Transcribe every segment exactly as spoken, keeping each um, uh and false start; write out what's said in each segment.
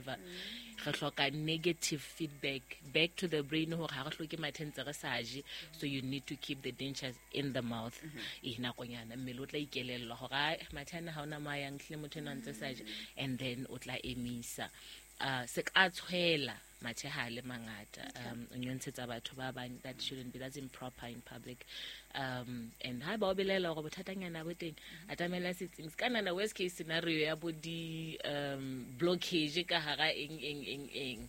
saliva. Re hloka negative feedback back to the brain hore ha re hloke mathe ntse re sa je. So you need to keep the dentures in the mouth. E nakonyana mmele o tla ikelellwa hore ai mathe ana ha ona mo a yang hlile motho enwa ntse sa je, and then o tla emisa. Uh, se ka tshwela mathe ha a le mangata, um o nyontshetsa batho ba bang. That shouldn't be, that's improper in public. um and ha ba o belaela hore bothatanyana bo teng, atamela setsing se ka nana. Worst case scenario ya bo di um blockage ka hara eng eng eng eng,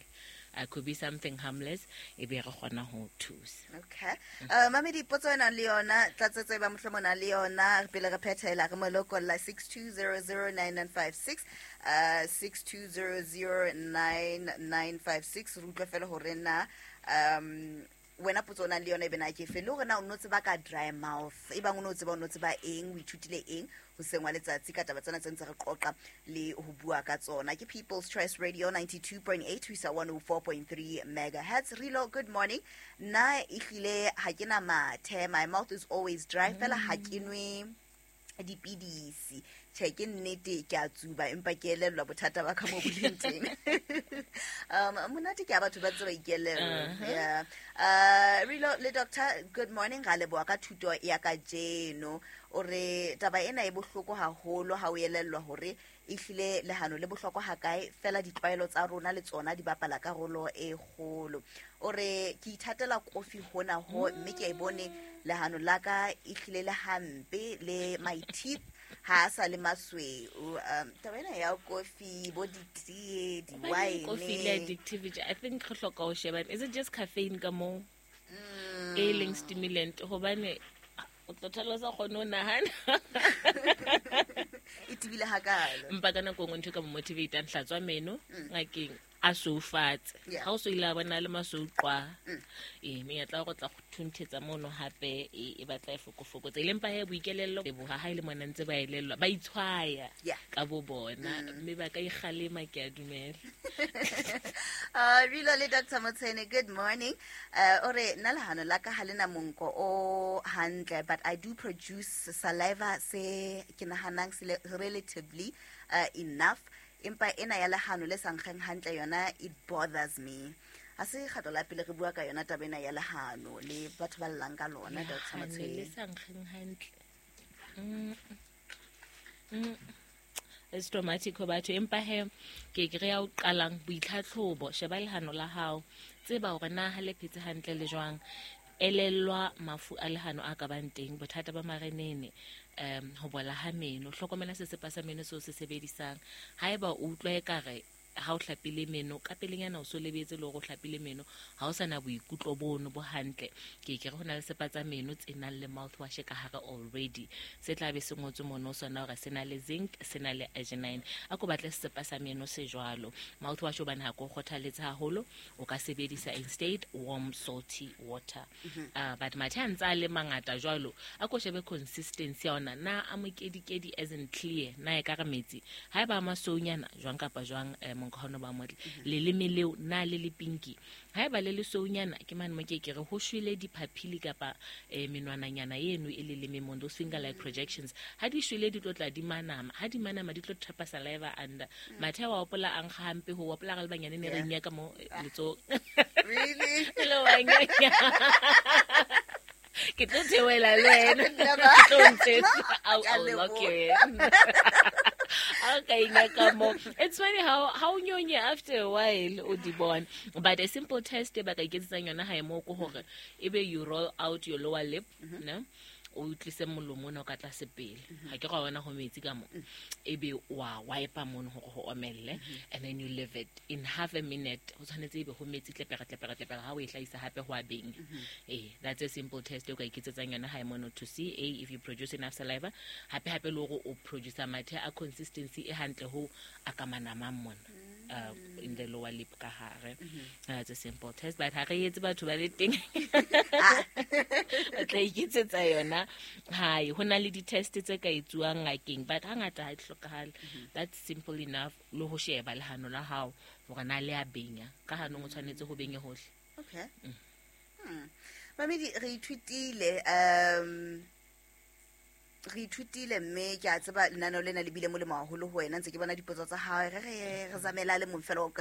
uh, could be something harmless, e be re kgona ho thusa. Okay, uh, mamedi, potso e nang le yona, tlatsetso e ba mohlomong na le yona pele re phethela, re mo lokolla six two zero zero nine nine five six, uh, six two zero zero nine nine five six. Re utlwe fela hore na um wena potso o nang le yona e bena ke fe, le hore na o no tseba ka dry mouth. E bang o no tseba, o no tseba eng, o ithutile eng hoseng wa letsatsi ka taba tsena tse ntse re qoqa le ho bua ka tsona. Ke People's Choice Radio ninety-two point eight ho isa one oh four point three megahertz. Rilo, good morning. Nna ehlile ha ke na mathe, my mouth is always dry fela, ha ke nwe dipidisi. Tjhe, ke nnete ke a tsuba, empa ke elellwa bothata ba ka mo bo leng teng. um monate ke a batho ba tseba ikelellwa. Yeah. uh Rilo le doctor, good morning. Ra leboha ka thuto ya kajeno. O re taba ena e bohloko haholo ha o elellwa hore ehlile lehano le bohlokwa hakae, fela ditlwaelo tsa rona le tsona di bapala karolo e kgolo. O re ke ithatela kofi hona ho, mme ke a e bone lehano la ka ehlile le hampe, le my teeth ha a sa le masweu. um taba ena ya kofi, bo ditee, Hobaneng kofi le di-wine. Addictivity, I think re hloka ho sheba, is it just caffeine ka moo e leng stimulant? Hobane o tlo thola o sa kgone ho nahana. E tebile hakalo. Mpa ka nako e nngwe ntho e ka mo motivatang, hlatswa meno ngakeng a sweufatse. Yeah. Ha o so ile a bona le masweu qwa, ee, menyetla ya go tla go thunthetsa mono hape e e batla e fokofokotsa. E leng pa he boikelello leboha ha e le mona ntse ba elellwa, ba itshwaya Yeah. ka bo bona, mme ba ka ikgalema, ke a dumela. uh, Rilo le Doctor Motshene, good morning. Uh, ore nna lehano la ka ha le na monko o hantle, but I do produce saliva se ke nahanang se le relatively uh, enough. Empa ena ya lehano le sa nkgeng hantle yona, it bothers me. Ha se kgetlo la pele re bua ka yona taba ena ya lehano le batho ba llang ka lona, Doctor Lehano le Motshene. Sa nkgeng hantle. Mm. Mm. It's traumatic ho batho, empa he ke ke re ya o qalang boitlhatlhobo, sheba lehano la hao, tseba hore na ha le phetse hantle le jwang. Elellwa mafu a lehano a ka bang teng, bothata ba marenene, um ho bola ha meno. Hlokomela sesepa sa meno seo se sebedisang. Haeba o utlwa ekare ha o hlapile meno ka pelenyana, o so lebetse le hore o hlapile meno, ha o sana boikutlo bono bo hantle, ke ke re ho na le sepa tsa meno tse nang le mouthwash ka hare already, se tla be se ngotswe mono sona hore se na le zinc, se na le arginine. A ko batle sesepa sa meno se jwalo. Mouthwash hobane ha ko kgothaletse haholo, o ka sebedisa instead warm salty water. uh, but mathe a ntse a le mangata jwalo, a ko shebe consistency ya ona, na a mokedikedi as in clear, na e ka re metsi? Ha eba a masweunyana jwang kapa jwang, eh, monko ha ono ba motle. Leleme leo na le le pinki? Ha eba le lesweunyana, ke mane mo ke ke re ho shwele diphapili kapa eh, menwananyana eno e leleme mo, those finger like projections. Ha di shwele, di tlo tla di manama. Ha di manama, di tlo trapa saliva under. Mathe wa opola a nkga hampe ho opola re le banyane ne re Yeah. nyaka mo eh, letsohong. Really? Le wa nyonya. Ke tlo theohela le wena. Never. Ke tlo ntshetsa. I'll, Ke a I'll lock leboha. you in. Ha o ka inyaka mo. It's funny how how o nyonye after a while o di bona. But a simple test e ba ka iketsetsang yona hae mo ke hore ebe you roll out your lower lip, ne? O tlise molomo ona o ka tlase pele, ha ke ra bona ho metsi ka mo, ebe wa wipe mono hore ho omelle, and then you leave it in half a minute. Ho tshwanetse ebe ho metsi tlepera tlepera tlepera. Ha o e hlahisa hape, ho a benya. Eh, that's a simple test e o ka iketsetsang yona hae mono to see a if you produce enough saliva, hape hape le hore o produce mathe a consistency e hantle ho a ka manamang mona uh, in the lower lip ka hare. That's a simple test, but ha re etse batho ba le teng ba tla iketsetsa yona hae. Ho na le di-test tse ka etsuwang ngakeng, but hangata ha di hlokahale. That's simple enough, le ho sheba lehano la hao hore na le a benya. Ka hanong o tshwanetse ho benye hohle. Okay. Hmm. Mamedi, re ithutile, um re ithutile, mme ke a tseba lenaneo lena le bile molemo haholo ho wena. Ntse ke bona dipotso tsa hao, re re re zamela le mong fela o ka